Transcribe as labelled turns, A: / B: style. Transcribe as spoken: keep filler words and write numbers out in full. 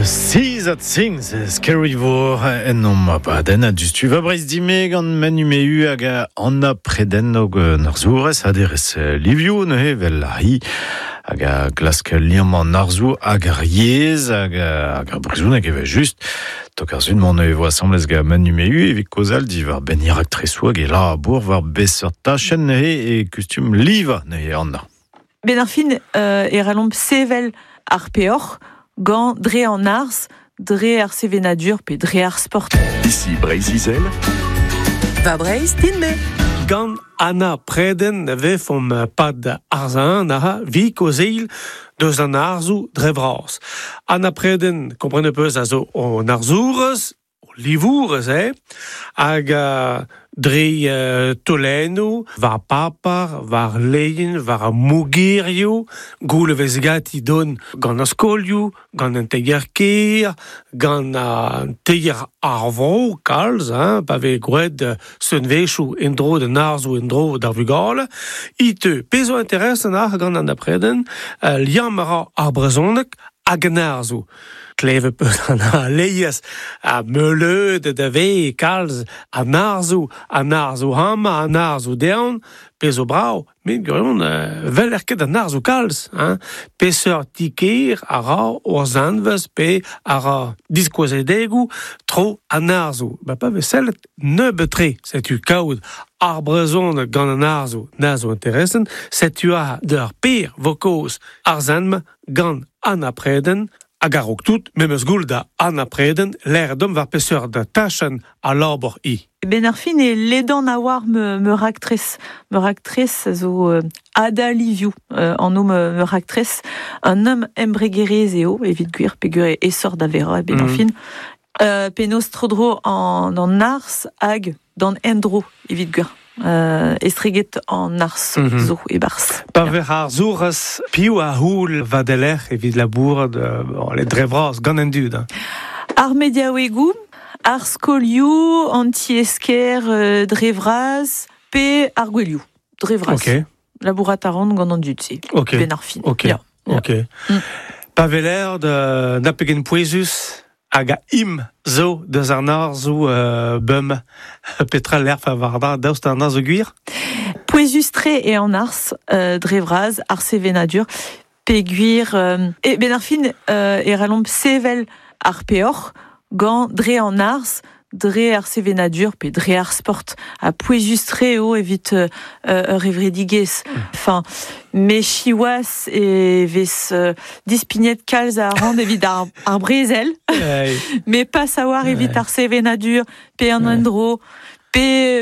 A: Seas at Things, Skerryvore en om abadenn a dustu va breiz dime gant Manu Mehu hag Anna Preden og arzourez aderez livioù neuze vel a hi hag a glask liamm an arzoù hag ar yezh hag hag ar brezhoneg evel just. Tok ar zun m'on e vo asambles gant Manu Mehu evit kozal diwar benn irak tresoù hag e labour war beseurt tachenn neuze e kustum liva neuze Anna.
B: Ben ar fin euh, e ralomp sevel ar peoc'h gant dre an arz, dre ar sevenadur pe dre ar sport.
C: Ici Breizh-Izel.
D: Va Breizh din me.
E: Gant Anna Preden vefomp pad arzan aha vi kozeil deus an arzoù dre vras. Anna Preden, kompren peus a zo an arzourez, o livourez, eh? Hag uh, dre uh, tolennoù, war papar, war leien, war a mogerioù, goul vez gati don gant ar skolioù, gant an teger ker, gant an teger ar vro, kalz, hein, pa vez gwraet seunvezhioù en-dro d'an arzoù en-dro d'ar vugale. Ite, pezo interesant ar gant an apreden, uh, liamm a ra ar brezhoneg hag an arzoù. Kleve peus an a leiez a meuleud da ve kalz an arzoù, an arzoù hama, an arzoù dean, pezo brao, met gwirion, euh, vel er ket an arzoù kalz, hein. Peseurt tiker a ra o'r zanvez pe a ra diskouezedegoù tro an arzoù. Ba pa vez sellet nebeut-tre, setu kaout ar brezhoneg gant an arzoù na zo interesant, setu a d'ur per vo kaoz ar zanm gant an apreden, hag a-raok tout, memes goul da Anna Preden, l'air dom war peseurt da tachenn a labor i.
B: Ben ar fin e ledan a war me, me raktres. Me raktres zo euh, Ada Livioù, euh, an o me, me raktres. Un homme embregerez eo, evit gwir, peogwir e esor da vera, ben ar
E: Mm.
B: fin. Euh, penaos tro-dro an, an arz hag d'an endro, evit gwir. Euh, estreget an arz
E: Mm -hmm.
B: zo e barz.
E: Pa ver ar zourez piv a houl va deler evit labour de, bon, les dre vras gant an dud. Hein.
B: Ar mediaouegoù, ar skolioù, an ti-esker euh, dre vras, pe ar gwelioù, dre vras.
E: Ok,
B: Labourat a ran gant an dud se,
E: ok,
B: ben ar fin.
E: ok,
B: Ya, ya.
E: ok.
B: Mm.
E: Pa veler de na pegen pouezus hag a im zo deus an arzoù euh, bum petra l'erf a war da daoust an arzoù gwir?
B: Pouezus tre e an arz, euh, dre vras, ar sevenadur, pe gwir... Euh, e ben ar fin euh, e ralomp sevel ar peoc'h gant dre an arz, dre ar sevenadur pe dre ar sport. A pouezus tre eo evit euh, ur evredigez. Enfin, me chiwas e vez euh, dispignet kalz a rand evit ar, ar brezel, mais pas savoir evit ar sevenadur, pe an endro, pe